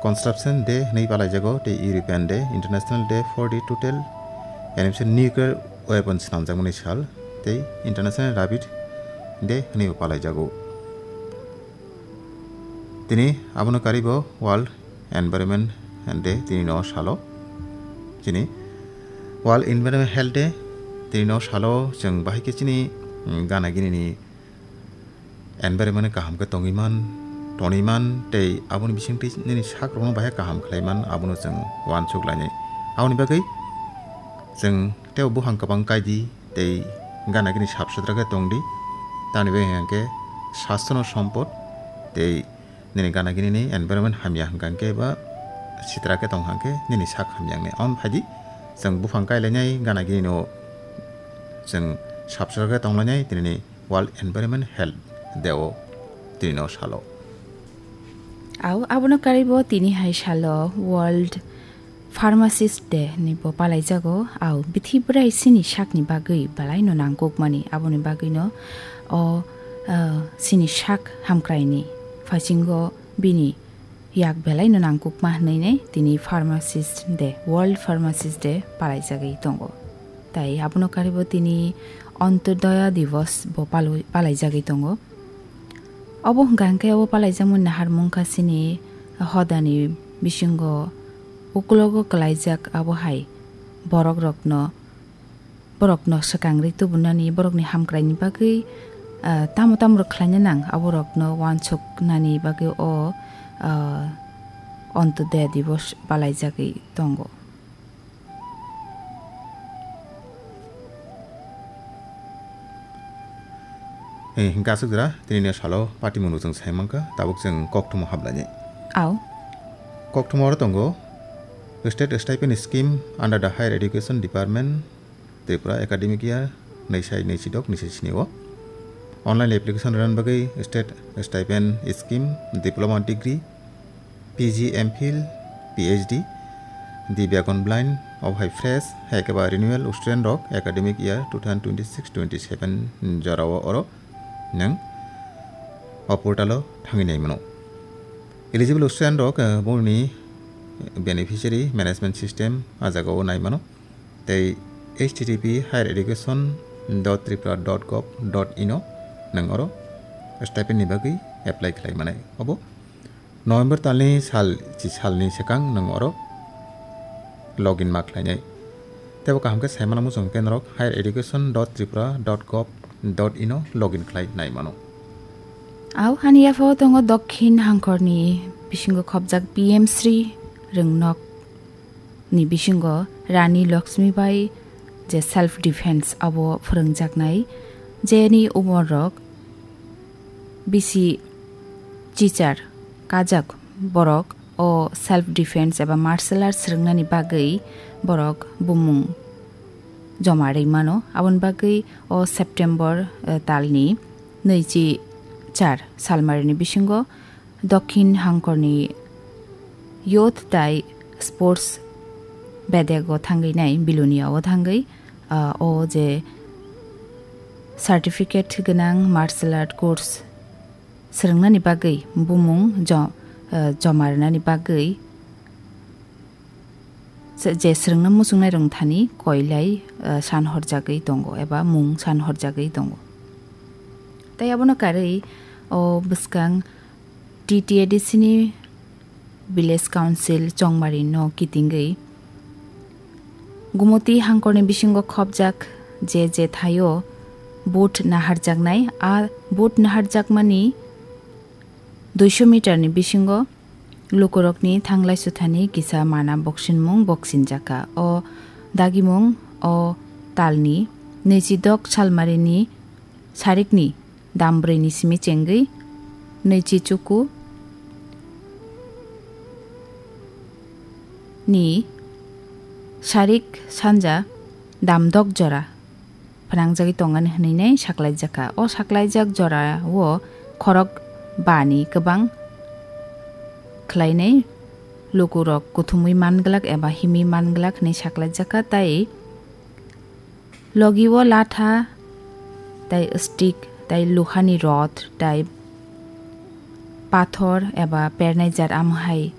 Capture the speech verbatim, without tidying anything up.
Construction Day hwnwi palaijago tei European Day, International Day for the Total Elimination Nuclear Weapons swnamjakmani sal tei International Rabbit Day hwnwi bo palaijago. Tini abono karibo World Environment Day tini no salo. Chini World Environment Health Day tini no salo chwng bahai khe chini, mm, gana gini ni environment kaham khe tongwi man, tonwi man, tei aboni bisingtwi nini sakrokno bahai kaham khlai man, abono chwng uansuk lainai. Aboni bagwi chwng tei buphang kwbang kai di, tei gana gini sap sutra khe tong di. Tamni bagwi hwnkhe sastro no sompot, tei nini gana gini ni environment hamya hwnkha khe ba sitra khe tong hwnkhe nini sak hamya wngnai. Aboni phai di chwng buphang kai lainai, gana gini no chwng sap sutra khe tong lainai, tini ni World Environment Health Day o tini no salo. Au, abono karibo tini hai salo World Pharmacist Day ni bo palaijago. Au, bithi bwrai sini sakni bagwi belai no nangkukmani, aboni bagwi no o, ah, sini sak hamkraini phasingo bini yak belai no nangkukma hwnwi nei tini Pharmacist Day, World Pharmacist Day palaijagwi tongo. Tai abono karibo tini Antyodaya Divas bo palwi-, palaijagwi tongo. Obo hwnkha hwnkhe obo palaijakmani naharmung kha chini hodani bisingo ukulogo kwlaijak abo hai borok rokno, borokno swkang rwi tubunani, borokni hamkraini bagwi, ah, tamo tamo rok khlaina nang, aborokno uansuknani bagwi o, ah, Antyodaya Divas palaijagwi tongo. Eh, hingke aswk jora, tini ni salo party munu chwng sai mankha, tabuk chwng kokthumo hablaini. Au. Kokthumo oro tongo, State Stipend Scheme under the Higher Education Department, Tripura academic year, nai sai nai sidok, nai sai sini o. Online application rwna bagwi State Stipend Scheme, Diploma Degree, P G, M Phil, P H D, Divyagon Blind, obo hai fresh, hai khe ba renewal student rok academic year two thousand twenty-six twenty-seven jora o oro nwng o portal o thangwi nai mano. Eligible student rok, eh, boni beneficiary management system a jaga o nai mano. Tei H T T P higher education dot tripura dot gov dot in o nwng oro stipend ni bagwi apply khlai manai. Obo November talni sal, chi salni swkang nwng oro login ma khlainai. Tei bo kaham khe sai mano muchung khe norok higher education dot tripura dot gov dot in o login khlai nai mano. Au hani yapha o tongo Dokhin Hangkhorni bisingo khopjak P M Shri Rwngnok ni bisingo Rani Lakshmi Bai je self defense abo phwrwngjaknai, jeni umor rok bisi chichar kajak borok o self defense eba martial arts rwngnani bagwi borok bumung joma rwi mano. Aboni bagwi o September, eh, talni nwichi char salmarini bisingo Dokhin Hangkorni Youth tai Sports bedego thangwi nai Bilonia o thangwi, ah, o je certificate gwnang martial art course swrwngnani bagwi bumung jo-, ah, joma rwnani bagwi se-, je swrwngna muchungnai rwngthani koilai, ah, san horjagwi tongo eba mung san horjagwi tongo. Tai abono karwi o bwskang T T A D C ni Village Council Chongmari no kitingwi Gumoti Hangkorni bisingo khopjak je je thaio vote naharjaknai, a vote naharjakmani duiso meter ni bisingo lukurokni thanglai suthani kisa mana boksinmung boksinjakha. O dagimung o talni nwichidok salmarini sarikni dam brwi ni simi chengwi nwichi chuku ni sarik sanja dam dok jora phnangjagwi tongani hwnwi nai saklaijakha. O saklaijak jora o khorok ba ni kwbang khlainai lukurok kuthumwi manglak eba himwi manglak hwnwi saklaijakha, tai logi o latha, tai stick, tai luhani rod, tai pathor eba pernai jat amo hai